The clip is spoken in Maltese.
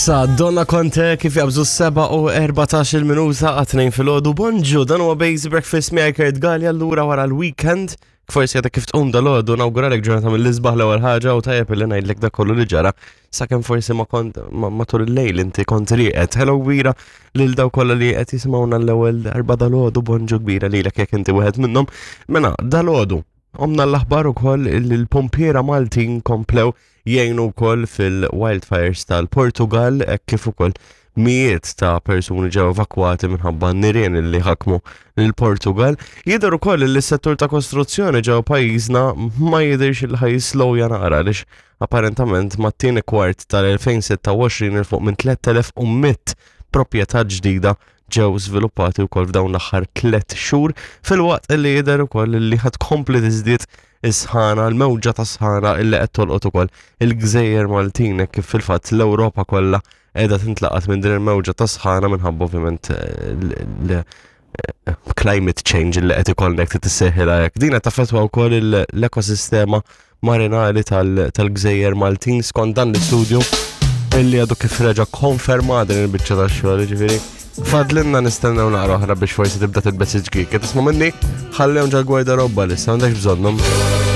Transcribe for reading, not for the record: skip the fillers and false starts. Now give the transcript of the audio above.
Sa Donna Conte kif jabżu 7 u 14 minuta għat-tnejn filgħodu. Bonġu, dan huwa Base Breakfast miegħi Kurt Gallia lura wara l-weekend. Forsi għadek kif tqum dal-għodu nawguralek ġurnata mill-isbaħ l-ewwel ħaġa u tajjeb illi ngħidlek dak kollu li ġara sakemm forsi ma kont matul il-lejl inti kont rieqed. Hello kbira lil daw kollha li qed jisimgħuna l-ewwel darba dal-għodu bonġu kbira lilek jekk inti wieħed minnhom. Mela dal-għodu Omna l-aħbar ukoll li l-pompiera Maltin komplew jgħinu wkoll fil-wildfires tal-Portugal hekk kif ukoll mijiet ta' persuni ġew evakwati minħabba nirien li ħakmu l-Portugal. Jidher ukoll li s-settur ta' kostruzzjoni ġew pajjiżna ma jidhirx il ħaj slowja naqra għaliex apparentament mat-tieni kwart tal-2026 il fuq minn 3100 proprjetà ġdida ġew żviluppati wkoll f'dawn l-aħħar tliet xhur filwaqt li jidher ukoll li ħad kompli tiżdied is-sħana, l-mewġa ta' sħana illi qed tolqot ukoll il-gżejjer Maltin kif fil-fatt l-Ewropa kollha qiegħda tintlaqat minn din il-mewġa ta' sħana minħabba ovvjament eh, eh, climate change li qed ikollek trid tisseħħilha hekk. Din qed taffettwa wkoll l-ekosistema marinali tal-gżejjer Maltin skont dan l-istudju illi għadu kif reġa konferma din il-biċċa ta' xogħol, ġifieri. Fadlinna nistennew naqra oħra biex forsi tibda tilbes iġgik. Qed tisma' minni ħallehom ġal gwardarobba li issa m'għandekx bżonnhom.